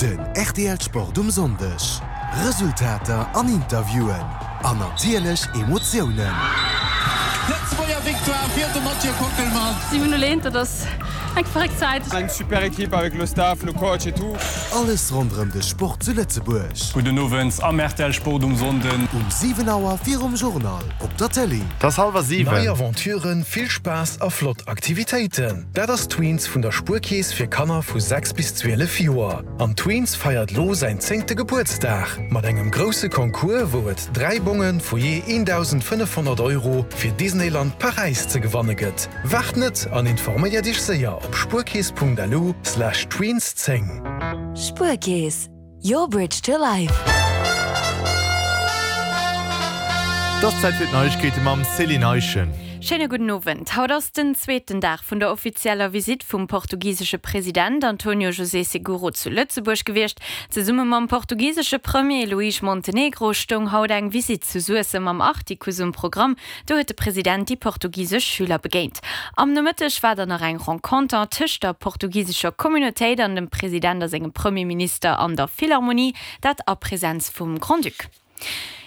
Den rtl Sport um Sonndeg, Resultater an Interviewen an natierlech Emotiounen. Lëtzebuerger Victoire fir de Mathieu Kockelmann. 7 0 1, dat ass eng verréckt Zäit. Eng super Equipe avec le staff, le coach et tout. Alles ronderëm de Sport zu Lëtzebuerg. Gudden Owend am rtl Sport um Sonnden. Um 7 Auer virum Journal op der Tëlee. 't ass hallwer 7. Nei Aventuren, vill Spaass a flott Aktivitéiten, dat ass Tweens vun der Spuerkeess fir Kanner vu 6 bis 12 Joer. An Tweens feiert lo säin zéngte Gebuertsdag mat engem grousse Concours, wou et 3 Bonge vu jee 1.500 Euro fir Disneyland Paräis ze gewanne gëtt. Waart net an informéiert iech séier op spuerkeess.lu slash tweens 10. Spuerkeess, your bridge to life. Et ass Zäit fir d'Neiegkeete mam Céline Eischen. Schéine gudden Owend. Haut ass den zweeten Dag vun der offizieller Visitt vum portugisesche President Antonio José Seguro zu Lëtzebuerg gewiescht. Zesumme mam portugisesche Premier Luís Montenegro stoung haut eng Visitt zu Suessem am Artikuss um Programm. Do huet de President déi portugisesch Schüler begéint. Am Nomëtteg war dann nach eng Renconter tëscht der portugisescher Communautéit an dem President a sengem Premierminister an der Philharmonie, dat a Presenz vum Grand-Duc.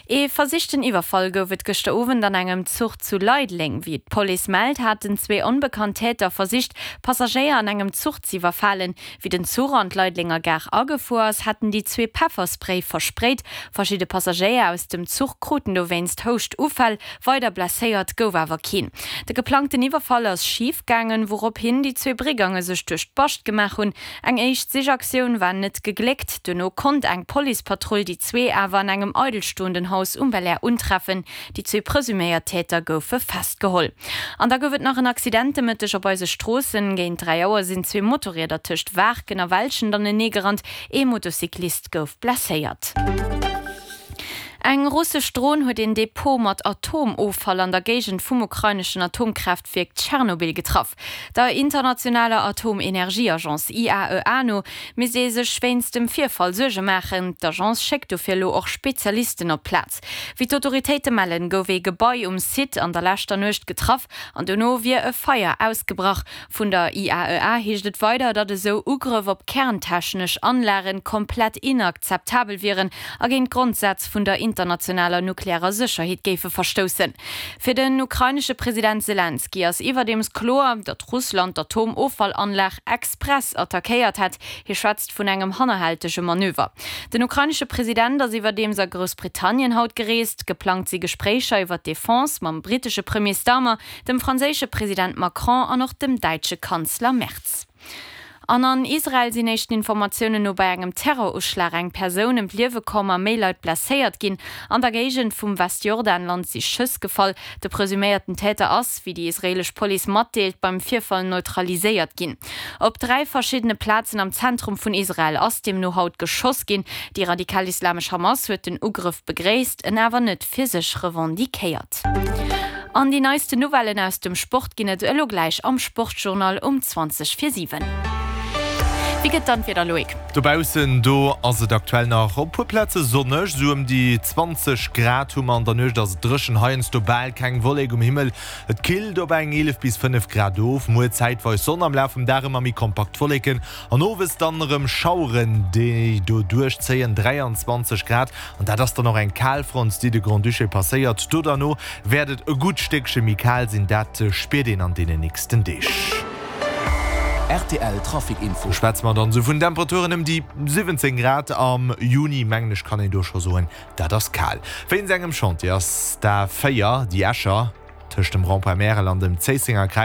Ee versichten Iwwerfall gouf et gëschter Owend an engem Zuch zu Leideleng. Wéi d'Police mellt, haten zwee onbekannt Täter versicht, Passagéier an engem Zuch z'iwwerfalen. Wéi den Zuch an d'Leidelenger Gare agefuer ass, hätten déi zwee Pefferspray versprayt. Verschidde Passagéier aus dem Zuch kruten dowéinst Houschtuffäll, weider blesséiert gouf awer keen. De geplangten Iwwerfall ass schif gaangen, wourophin déi zwee Brigange sech duerch d'Bascht gemaach hunn. Eng éischt Sichaktioun war net gegléckt, duerno konnt eng Policepatrull déi zwee awer an engem eidelstoenden Haus um Belair untreffen. Déi zwee presuméiert Täter goufe festgeholl. An da gouf et nach en Accident de Mëtteg op eise Stroossen. Géint 3 Auer sinn zwee Motorrieder tëscht Waarken a Welschent anenee gerannt. Ee Motocyclist gouf blesséiert. Eng russesch Dron huet een Depot mat Atomoffall an der Géigend vum ukraineschen Atomkraaftwierk Tschernobyl getraff. Der internationaler Atomenergieagence IAEA no misst ee sech wéinst dem Virfall Suerge maachen. D'Agence schéckt dofir elo och Spezialisten op d'Plaz. Wéi d'Autoritéite mellen, gouf ee Gebai um Site an der leschter Nuecht getraff an dono wier e Feier ausgebrach. Vun der IAEA heescht et weider, datt esou Ugrëff op kerntechnesch Anlagen komplett inakzeptabel wieren a géint d'Grondsätz vun der internationaler nuklearer Sécherheet géife verstoussen. Fir den ukrainesche President Selenskyj ass iwwerdeems kloer, datt Russland d'Atomoffallanlag express attackéiert hätt. Hie schwätzt vun engem hannerhältege Manöver. Den ukrainesche President ass iwwerdeems a Groussbritannien haut gereest. Geplangt si Gespréicher iwwer d'Defense mam brittesche Premier Starmer, dem franséische President Macron an och dem däitsche Kanzler Merz. An an Israel sinn éischten Informatiounen no bei engem Terroruschlag eng Persoun ëm d'Liewe komm a méi Leit blesséiert ginn. An der Géigend vum Westjordanland si Schëss gefall. De presuméierten Täter ass, wéi déi israeelesch Police matdeelt, beim Virfall neutraliséiert ginn. Op 3 verschiddene Plazen am Zentrum vun Israel ass deemno haut geschoss ginn. Déi radikal-islamesch Hamas huet den Ugrëff begréisst, en awer net fir sech revendiquéiert. An déi neisten Nouvellen aus dem Sport ginn et elo gläich am Sportjournal um 20 vir 7. Wéi gëtt dann d'Wieder, Loïc? Dobaussen, do ass et aktuell nach op puer Plaze sonneg, esou ëm déi 20 Grad hu mer. An der Nuecht ass et dréchen, heiansdo bal keng Wollek um Himmel. Et killt op eng 11 bis 5 Grad of. Muer zäitweis Sonn, am Laf vum Dag ëmmer méi kompakt Wolleken an owes dann erëm Schaueren, déi do duerchzéien. 23 Grad An dat ass dann och eng Kalfront, déi de Grand-Duché passéiert. Do derno wäert et e gutt Stéckche méi kal sinn, dat spiert een an deenen nächsten Deeg. Rtl Trafic Info. Do schwätze mer dann esou vun Temperaturen ëm déi 17 Grad am Juni, mengen ech kann een do scho soen, dat ass kal. Wéinst engem Chantier ass d'A 4, déi Escher, tëscht dem Rond-point Märel an dem Zéissenger Kräiz.